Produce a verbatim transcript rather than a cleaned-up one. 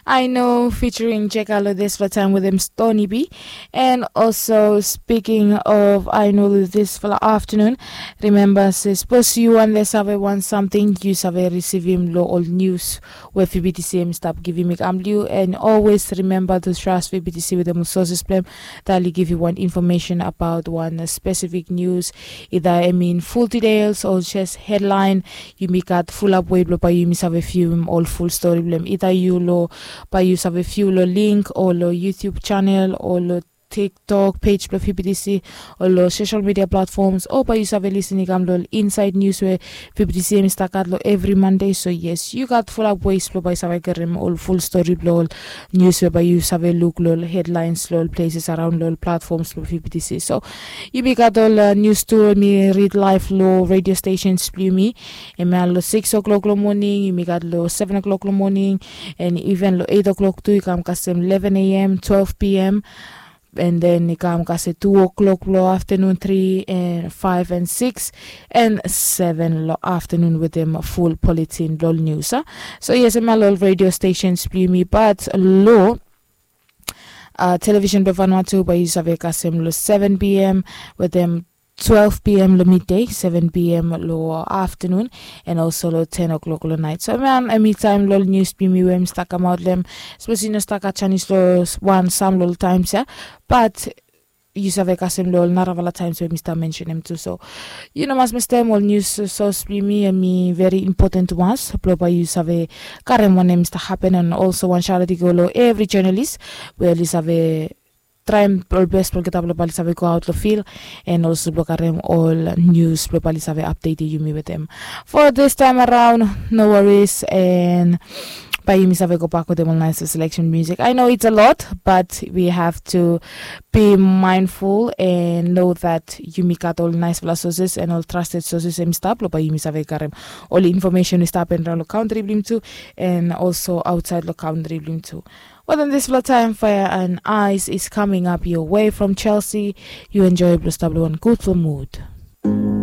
I know, featuring Jeka lo dispela taim wetem Stony B. And also, speaking of I know lo dispela afternoon, remember se sapos yu wande save wan samting, yu save risivim lo ol news we V B T C em stap givim i kam bliu. And always remember to trust V B T C wetem ol sources blem that will give you one information about one specific news, either I mean full details or just headline. Yumi gat fulap wei blong bai yumi save viewim ol full story blem, either yu lo bai yu save view lo link o lo YouTube channel o lo TikTok page blong V B T C o lo social media platforms, o bai yu save listen i kam lo inside news we V B T C em i stap gat lo evri Monday. So yes, yu gat fulap ways blong bai save karim ol full story blong ol news we bai yu save luk lo headlines lo ol places around lo ol platforms blong V B T C. So yumi gat ol uh, news tu mi read live lo radio stations blong yumi. Em ya lo six o'clock lo morning, yumi gat lo seven o'clock lo morning, and even lo eight o'clock tu i kam kasem eleven a.m., twelve p.m., and then i kam kasem two o'clock lo afternoon, three and five and six and seven lo afternoon wetem full bulletin blong news. So yes, em ya lo ol radio stations blong yumi, but lo uh, television blong Vanuatu bai yu save kasem lo seven p.m., wetem twelve p.m. lo midday, seven p.m. lo afternoon, and also lo ten o'clock lo night. So man, em i taim lo ol news blong yumi we em stap kamaot lo em. Sapos yu no stap gat chanis lo wan sam lo ol times ya, but yu save kasem lo ol narafala times we mi stap mentionem tu. So yu no mas mistem ol news source blong yumi, em i very important ones blong bai yu save karim wanem i stap happen. And also wan shout out i go lo evri journalist we oli save traim ol best blong olgeta blong bai oli save go aot lo field, and also blong karim ol news blong bai oli save update yumi wetem. For this time around, no worries, and bai yumi save go bak wetem ol nice selection music. I know it's a lot, but we have to be mindful and know that yumi gat ol nicefala sources and ol trusted sources em i stap blong bai yumi save karim ol information we stap hapen raon lo country blong yumi tu, and also outside lo country blong yumi tu. Wetem dispela taim, Fire and Ice is coming up your way from Chelsea. Yu enjoy blong stap lo wan gudful mood.